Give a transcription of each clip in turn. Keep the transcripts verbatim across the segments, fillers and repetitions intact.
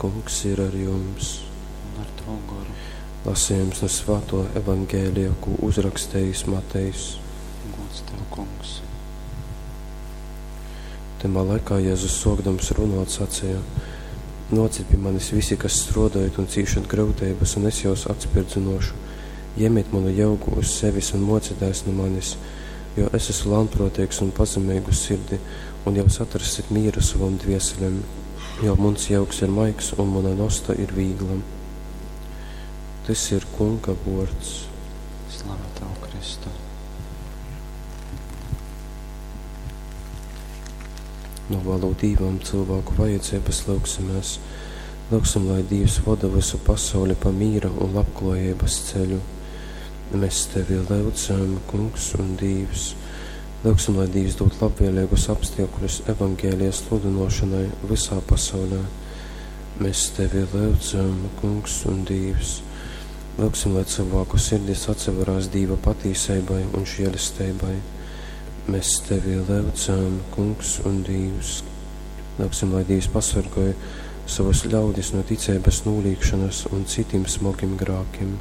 Kungs ir ar jums. Un ar tavu goru. Lasījums no Svāto Evangēlija, ko uzrakstījis Matejs. Gods tev, kungs. Tymā laikā Jēzus sōkdams runāt sacīja: Nōcit pie manis visi, kas strōdājat un cīšat grūtības, un es jūs atspirdzinošu. Jemiet manu jaugu uz sevis un mocieties no manis, jo es esmu lānprātīgs un pazemīgu sirdi, un jūs atrasit mīru savam dvieselēm, jo mans jaugs ir maigs un mana nosta ir vīgla. Tys ir Kunga vōrds. Slava tev, Kristu. Novēlu Dīvam cilvēku vajadzības lūgsimies. Lūgsim, lai Dievs voda visu pasauli pa mīra un labklājības ceļu. Mēs tevi lūdzam, Kungs un Dievs. Lūgsim, lai Dievs dod labvēlīgus apstākļus evangēlija sludinošanai visā pasaulē. Mēs tevi lūdzam, Kungs un Dievs. Lūgsim, lai cilvēku sirdis atseverās Dieva patīsībai un žēlestībai. Mēs tevi lūdzam, Kungs un Dievs. Lūgsim, lai Dievs pasargāj savus ļaudis no ticības nolīgšanas un citiem smagiem grākiem.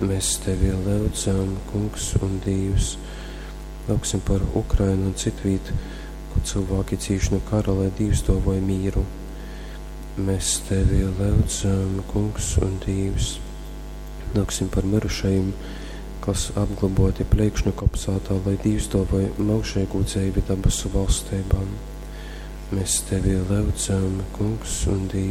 Mēs tevi lūdzam, Kungs un Dievs. Lūgsim par Ukrainu un citvīt, kur cilvēki cīš no kara, lai Dievs dāvāj mīru. Mēs tevi lūdzam, Kungs un Dievs. Lūgsim par mirušajiem, kas apglaboti Plēkšņu kopsātā, lai Dievs dāvāj mūžīgu dzīvi dabasu valstībām. Mēs tevi lūdzam, Kungs un Dievs.